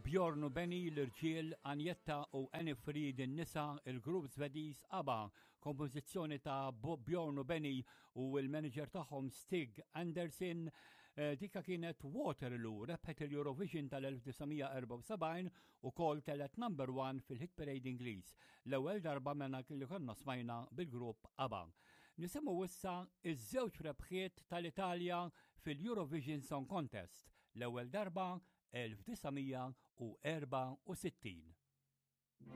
Bjorn u Benny l-irġiel, Anjetta u Annie Fried in-nisa, il-grupp Svediż ABBA, kompożizzjoni ta' Bjorn u Benny u l-manager tagħhom Stig Anderson, eh, dika kienet Waterloo, rebħet il-Eurovision tal-1974 u kol telet number one fil-hit parade Ingliż. L-ewwel darba mena li konna smajna bil-grupp ABBA. Nisimgħu issa iż-żewġ rebħiet tal-Italja fil-Eurovision Song Contest. L-ewwel darba 1964.